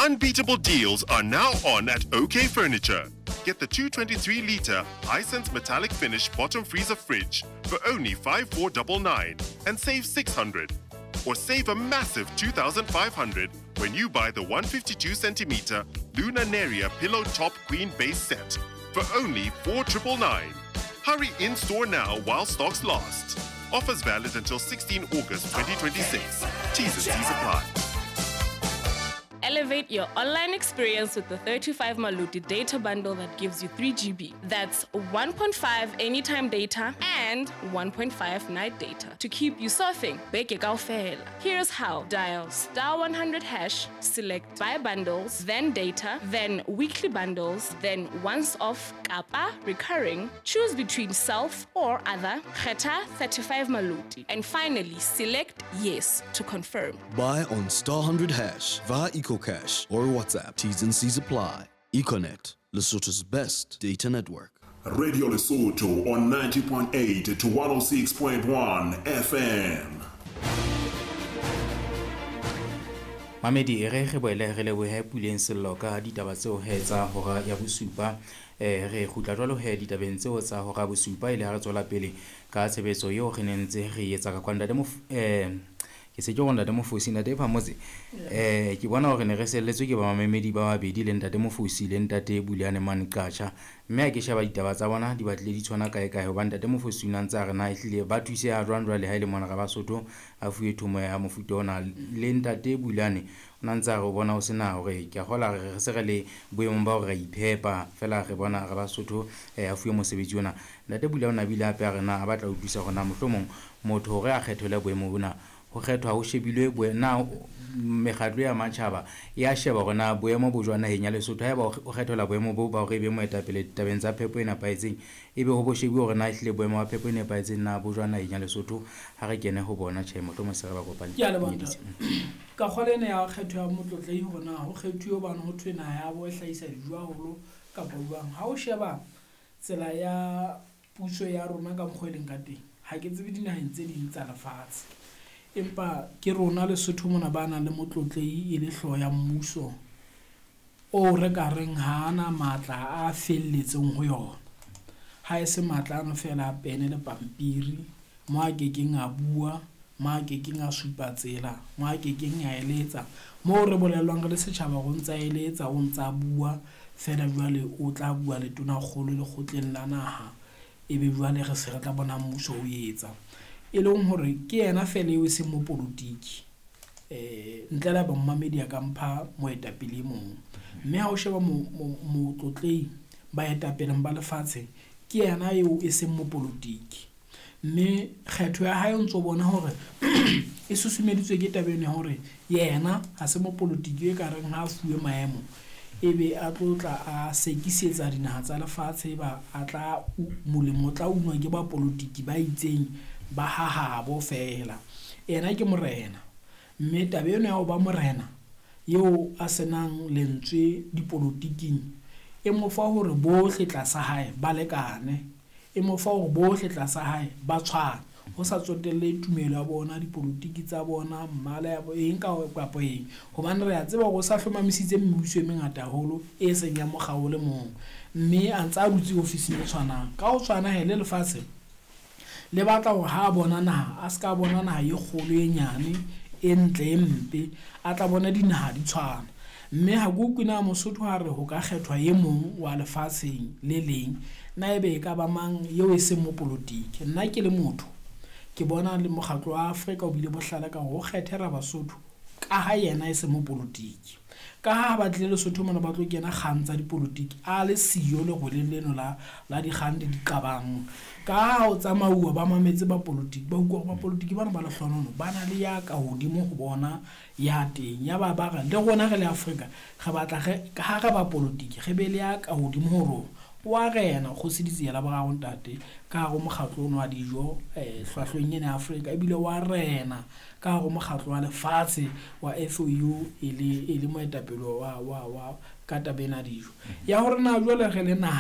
Unbeatable deals are now on at OK Furniture. Get the 223 litre Hisense metallic finish bottom freezer fridge for only 5499 and save 600. Or save a massive 2500 when you buy the 152 centimeter Luna Neria pillow top queen base set for only 4999. Hurry in store now while stocks last. Offers valid until 16 August 2026. T's and C's apply. Elevate your online experience with the 35 Maluti data bundle that gives you 3 GB. That's 1.5 anytime data and 1.5 night data to keep you surfing. Beke kaofela. Here's how. Dial star 100 hash, select buy bundles, then data, then weekly bundles, then once off kappa recurring. Choose between self or other. Kgetha 35 Maluti. And finally, select yes to confirm. Buy on star 100 hash via EcoCash or WhatsApp. T's and C's apply. Econet, Lesotho's best data network. Radio Lesotho on 90.8 to 106.1 FM. Mamedi e re re boele re lebohe Puleng Sello ka ditaba tseo he tsa hora ya bosupa. Re kgutla jwalo he ditabeng tseo tsa hora ya bosupa e le ha re tswela pele ka tshebetso eo re neng ntse re etsa ka kwa ntate ke se ke go ntate Mofosi, ntate Phamotse. Ke bona hore ne re selletswe ke ba mamemedi ba babedi le ntate Mofosi le ntate Buleane Mane Qacha, mme ha ke sheba ditaba tsa bona di batlile di tshwana kae kae, hobane ntate Mofosi o ne a ntse a re na ehlile ba thuseha jwang jwale ha e le mona re Basotho a fuwe thomo ya mofuta ona, le ntate Buleane o ne a ntse a re o bona ho sena hore ke a kgola re se re le boemong ba hore re iphepa fela re bona re Basotho a fuwe mosebetsi ona. Ntate Buleane o ne a bile hape a re na a batla ho utlwisa hore na mohlomong motho hore a kgethelwe boemo bona ho kgethwa ho shebilwe na mekgatlo ya matjhaba ya sheba hore na boemo bo jwang naheng ya Lesotho. Haeba o kgethelwa boemo bo ba hore e be moetapele ditabeng tsa phepo e nepahetseng, ebe ho bo shebuwe hore na ehlile boemo ba phepo e nepahetseng na bo jwang naheng ya Lesotho. Ha re kene ho bona tjhe, mohlomong se re ba kopane. Ke a leboha ntate. Ka kgolwa ena ya kgetho ya motlotlehi hore na ho kgethuwe hobane ho thwe naha ya bo e hlahisa dijo haholo kapa jwang. Ha o sheba tsela ya puso ya rona ka mokgwa e leng ka teng, ha ke tsebe dinaheng tse ding tsa lefatshe, empa ke rona Lesotho mona ba nang le motlotlehi e le hlooho ya mmuso o re ka reng ha ana matla a felletseng ho yona. Ha e se matla ano fela a pene le pampiri, mo a kekeng a bua, mo a kekeng a supa tsela, mo a kekeng a eletsa, moo re bolellwang re le setjhaba hore o ntsa eletsa, o ntsa bua fela jwale o tla bua le tonakgolo lekgotleng la naha, ebe jwale re se re tla bona mmuso o etsa. E leng hore ke yena fela eo e seng mopolotiki, ntle le ha momamedi a ka mpha moetapele e mong. Mme ha o sheba motlotlehi baetapeleng ba lefatshe, ke yena eo e seng mopolotiki. Mme kgetho ya hae o ntso bona hore e susumeditswe ke taba eno ya hore yena ha se mopolotiki e ka reng ha a fuwe maemo ebe a tlo tla a sekisetsa dinaha tsa lefatshe, ba a tla molemo o tla unwa ke bapolotiki ba itseng ba hahabo fela. Yena ke morena, mme taba eno ya ho ba morena eo a senang lentswe dipolotiking e mo fa hore bohle tlasa hae ba lekane, e mo fa hore bohle tlasa hae ba tshwane, ho sa tsotelle tumelo ya bona, dipolotiki tsa bona, mmala ya eng kapa eng. Hobane re a tseba hore o sa hlomamisitse mebuso e mengata haholo e seng ya mokga o le mong, mme a ntse a dutse ofising e tshwanang. Ka ho tshwana he le lefatshe le batla hore ha a bona naha, a ska bona naha e kgolo e nyane, e ntle e mpe, a tla bona dinaha di tshwana. Mme ha ke utlwe na Mosotho ha re ho ka kgethwa e mong wa lefatsheng le leng, na ebe e ka ba mang eo e seng mopolotiki. Nna ke le motho ke bona le mokgatlo wa Afrika o bile bohlale ka hore o kgethe Rabasotho ka ha yena e se mopolotiki. Ka ha ba tlile Lesotho mona ba tlo kena kgang tsa dipolotiki, a le siyo leroleng leno la dikgang le diqabang. Ka ha o tsamauwa ba mametse bapolotiki, ba utlwa hore bapolotiki bana ba lehlonono ba na le ya ka hodimo ho bona ya teng. Ya ba ba re le rona re le Afrika re batla re ka ha re bapolotiki re be le ya ka hodimo ho rona. Wa rena Kgosi Ditsiela boraro ntate ka hare ho mokgatlo ono wa dijo hlwahlweng ena ya Afrika, ebile wa rena ka hare ho mokgatlo wa lefatshe wa FAO e le moetapele wa ka taba ena ya dijo. Ya hore na jwale re le naha